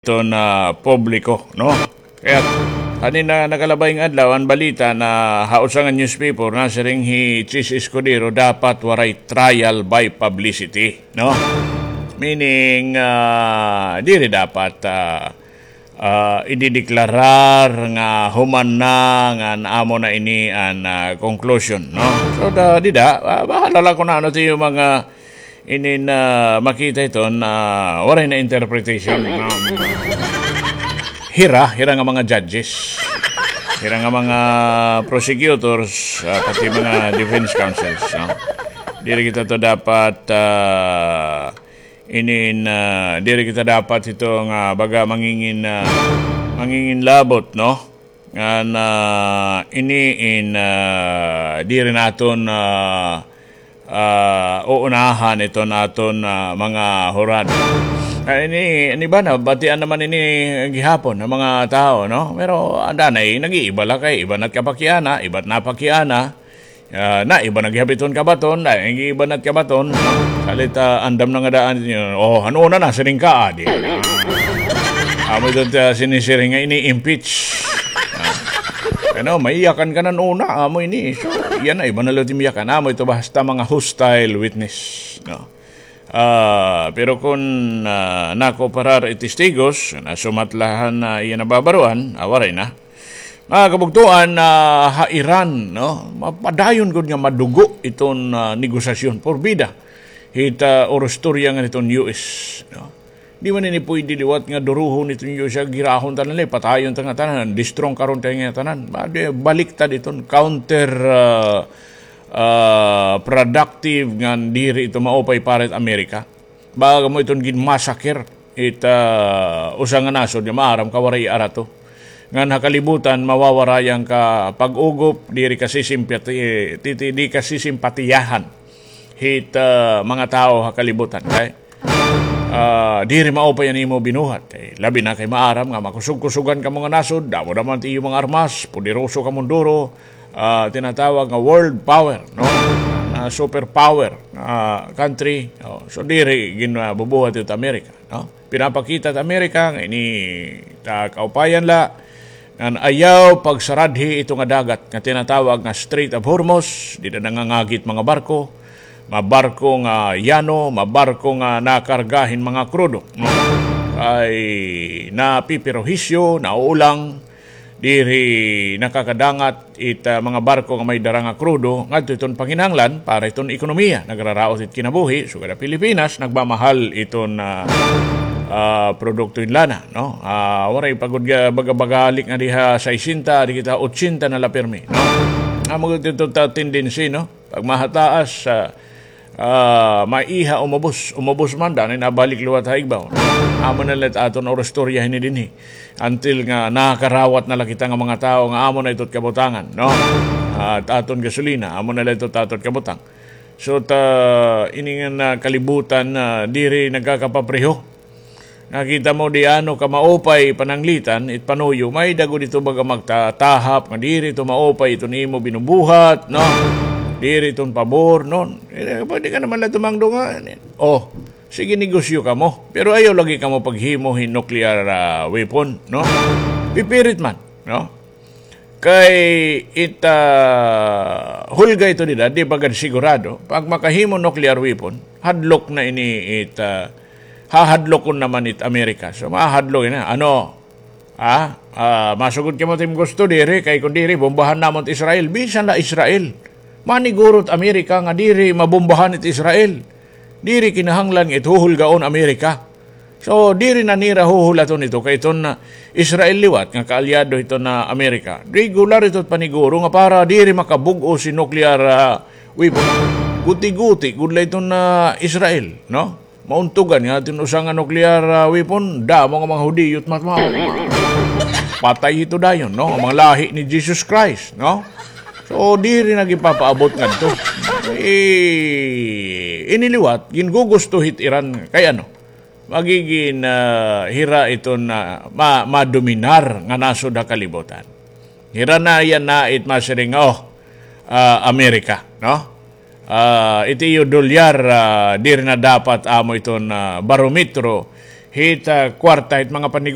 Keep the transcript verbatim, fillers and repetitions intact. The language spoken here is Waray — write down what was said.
iton, ah, publiko, no? Kay han ini nakalabay nga adlaw, an balita na ha usa nga newspaper, nasiring hi Chiz Escudero, dapat waray trial by publicity, no? Meaning, ah, diri dapat, ah, ah, idideklarar nga human na ngan amo na ini an, ah, conclusion, no? So, da, dida, ah, bahala la kun ano it iyo mga inin, ah, makita iton, ah, waray na interpretation, no? Hira, hira nga mga judges, hira nga mga prosecutors, ah, pati mga defense counsels, no? Diri kita to dapat, ah, inin, ah, diri kita dapat ito nga baga mangingin, ah, mangingin labot, no? Ngan, ah, ini in, ah, diri naton, ah, ah, uunahan iton aton, ah, mga hurado. Ah, ini, ini ba, nabatian naman ini gihapon ng mga tao, no? Pero anda na, eh, nag-iiba la kay iba na't kapakiana, iba't napakiana. Ah, na iba na gihap iton kabaton, na iba na't kabaton, no? Salit, ah, andam na nga daan ninyo. Oh, ano na na, siring ka, adi. Amo ito, ah, sinisiring nga ini-impeach. Ah. Ano, maiyakan ka na una, amo ini. So, yan na, iba na lang it im iyakan. Amo ito basta mga hostile witness, no? Ah, pero kun, ah, nakoparar it testigos, nasumat la han iya nababaroan, ah, waray na. Mga kabugtoan, ah, ha Iran, no? Mapadayon gud nga madugo iton, ah, negosasyon. Porbida hit, ah, orostorya ngan hiton U S, no? Di man ini puyde liwat nga durohon hiton U S, girahon tanan la, patayon ta ngatanan, destrong karon ta ngatanan. Ba, di, baliktad iton counter, ah, ah, productive ngan diri ito maupay para hit Amerika. Baga mo iton ginmassacre it, ah, usa nga nasod nga maaram ka waray arato. Ngan ha kalibutan, mawawara an kapag-ugop, diri kasisimpati-, titi-, di kasisimpatiyahan hit, ah, mga tawo ha kalibutan. Kay, ah, diri maupay an imo binuhat. Eh, labi na kay maaram nga makusog-kusogan kamo nga nasod, damo-damo it iyo mga armas, poderoso kamo duro, ah, tinatawag nga world power, no? Na superpower, ah, country. Oh, so diri ginbubuhat it Amerika, no? Pinapakita it Amerika nga ini ta kaupayan la, ngan ayaw pagsaradhi ito nga dagat nga tinatawag nga Strait of Hormuz, dida nangangagi it mga barko, mga barko nga yano, mga barko nga nakarga hin mga krudo, no? Kay napiperhisyo, nauulang, diri nakakadangat it, ah, mga barko nga may dara nga krudo ngadto iton panginahanglan para iton ekonomiya. Nagraraot it kinabuhi, sugad ha Pilipinas, nagmamahal iton, ah, ah, produkto hin lana, no? Ah, waray pa gud ga-, baga-baga halik nga diha sesenta, adi kita otsyenta na la pirmi, no? Amo gud ito ta tendency, no? Pag mahataas, ah, ah, maiha, umubos. Umubos man, danay nabalik liwat ha igbaw. Amo na la it aton orostorya hini dinhi. Until nga nakakarawat na la kita nga mga tawo nga amo na ito it kabutangan, no? Ah, it aton gasolina, amo na la ito it aton kabutang. So, ta, ini nga, ah, kalibutan, ah, diri nagkakapapreho. Nakita mo, di ano ka maupay pananglitan, it panuyo, may-ada gud ito baga magtatahap nga diri ito maupay iton imo binubuhat, no? Diri iton pabor, no? Eh, pwede ka naman la tumangdo nga, oh, sige, negosyo kamo. Pero ayaw lagi kamo paghimo hin nuclear, ah, weapon, no? Pipirit man, no? Kay it, ah, hulga ito dida, di pa gad sigurado. Pag makahimo nuclear weapon, hadlok na ini it, ah, hahadlokon naman it Amerika. So, mahadlok na. Ano? Ah, ah, masugod kamo it imo gusto, diri, kay kun diri, bombahan namon it Israel. Bisan la Israel. Maniguro it Amerika nga diri mabombahan it Israel. Diri kinahanglan nga it huhulgaon Amerika. So, diri na nira huhulaton ito kay iton, ah, Israel liwat nga kaalyado hiton, ah, Amerika. Regular ito it paniguro nga para diri makabug-os hin nuclear, ah, weapon. Guti-guti gud la iton, ah, Israel, no? Mauntugan nga iton usa nga nuclear, ah, weapon, damo nga mga Hudiyo it matmao. Patay ito dayon, no? An mga lahi ni Jesus Christ, no? So, diri na gipapaabot ngadto. Eh, ini liwat, gingugusto hit Iran. Kay ano? Magigin, ah, hira iton, ah, ma-, madominar nga nasod ha kalibutan. Hira na yana it masiring, oh, ah, Amerika, no? Ah, it iyo dolyar, ah, diri na dapat amo iton, ah, barometro hit, ah, kwarta hit mga panegosyo.